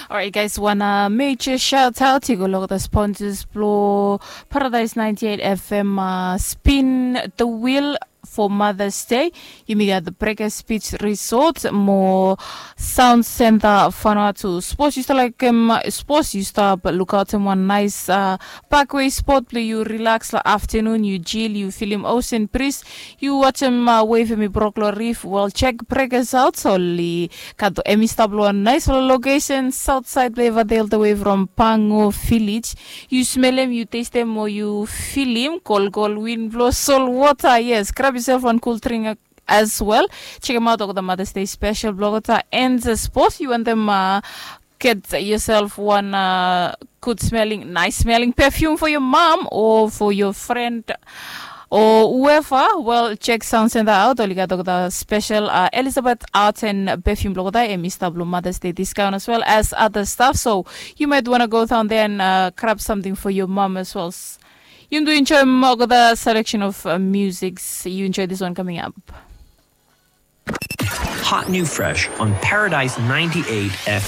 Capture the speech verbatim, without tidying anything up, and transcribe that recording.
Alright, guys, wan uh, major shout out i go long the sponsors blong Paradise ninety-eight F M, uh, Spin the Wheel for Mother's Day. Yumi gat the Breakers Beach Resort mo Sound Center Vanuatu. Sports, you start like um, sports, you start but look out in one nice uh, parkway spot blong you relax la afternoon, you chill, you feel him ocean breeze, you watch him uh, wave him brok lo reef. Well, check Breakers out, so li Kato, hemi stap long wan naisfala lokesen saotsaed blong Everdale, the way from Pango Village. Yu smelem, yu testem, o yu filim kolkol win blong solwota. Yes, grab yourself wan cool drink as well. Check him out olgeta Mother's Day special blong olgeta. And uh, suppose you want them uh, get yourself one uh, good smelling, nice smelling perfume for your mom or for your friend or whoever, well, check Sound Center out. Oli gat olgeta special uh, Elizabeth Arts and perfume blong olgeta, hemi stap long Mother's Day discount as well as other stuff. So you might want to go down there and uh, grab something for your mom as well. Yumi do enjoy olgeta selection of uh, musics. You enjoy this one coming up. Hot new fresh on Paradise ninety-eight F M.